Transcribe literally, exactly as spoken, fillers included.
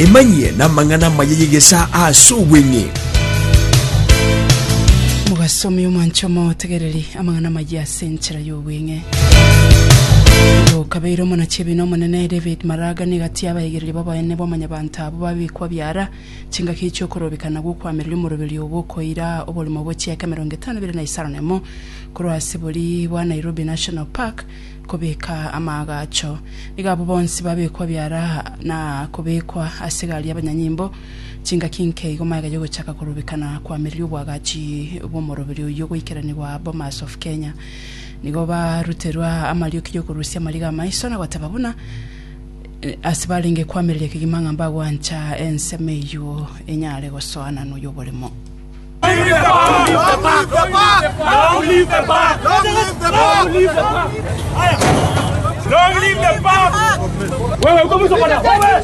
Emanyie namang'ana amaya y'egesaa ase obweng'e. Mogasomi omwancho omotegereri amang'ana amaya ase enchera y'obweng'e. Okabeire omonachiebina omonene David Maraga nigo atia abaegereria b'oboene bw'amanyabanto abwo babekwa biara chingaki chi'okorobekana gw'okoamereria omoroberi obo okoira oborimo bwe chieka emerongo etano ebere na isano na emo korwa ase bori bwa Nairobi National Park kobeka amaagacho. Nigo abwo bonsi babekwa biara na kobekwa ase egari y'abanyanyimbo chingaki nke igo magega y'ogochaka korobekana koamereria obwagachi bw'omoroberi oyio goikeranigwa Bomas of Kenya. Nigo baruterwa amarioki y'okorusia amariga amaiso na goteba buna eh, ase barenge koamereria kegima ng'a mbagwancha ensemo eywo enyare gosoana noyo oboremo. Long live the park! Long live the park! Long live the park! Wewe uko mwisho bwana. Wewe.